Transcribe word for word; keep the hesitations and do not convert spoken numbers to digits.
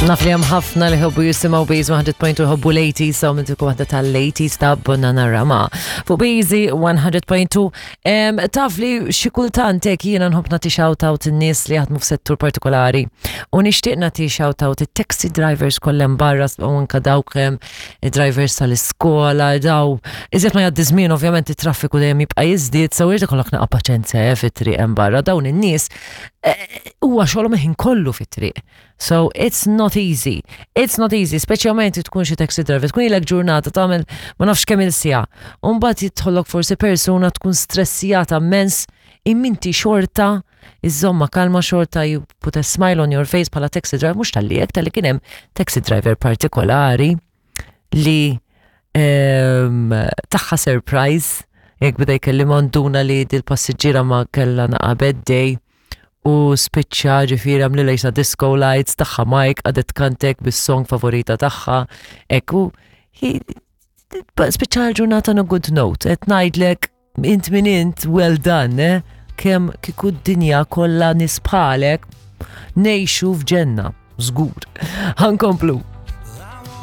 Naf li hemm ħafna li jħobbu jisimgħu Beezy one hundred point two, jħobbu l-eighties, so mintiku waħda tal-eighties ta' Bananarama. Fuq Beezy one hundred point two, em, taf li xi kultant hekk jiena nħobb nagħti shout out in-nies li jaħdmu f'settur partikolari. U nixtieq nagħti shout out it-taxi drivers kollha barra u anka dawk em, drivers tal-iskola, daw. Iżjed ma jgħaddi żmien, ovvjament it-traffiku dejjem jibqa' jiżdied, so irid ikollok naqa' paċenzja eh, fit-triq hemm barra. Dawn in-nies eh, huwa xogħolhom il-ħin kollu fit-triq. So it's not easy. It's not easy, speċjalment tkun xi taxi driver, tkun ilek ġurnata tagħmel ma nafx kemm il-siegħa. U mbagħad jidħollok forsi persuna tkun stressjata immens, imma inti xorta iżżommha kalma, xorta you put a smile on your face bħala taxi driver, mhux talli hekk, talli kien hemm taxi driver partikolari li em, taha surprise, jekk beda jkellimha, nduna li dil-passiġġiera ma kellha naqa bad day u spiċċa ġifieri għamlilha jisna disco lights, taha mic, għadet kantek bis-song favorita tagħha. Ekku, spiċċa l-ġurnata on a good note, qed ngħidlek int min int, well done, eh? Kemm kieku d-dinja kollha nies bħalek, ngħixu f'ġenna, żgur. Ħa nkomplu.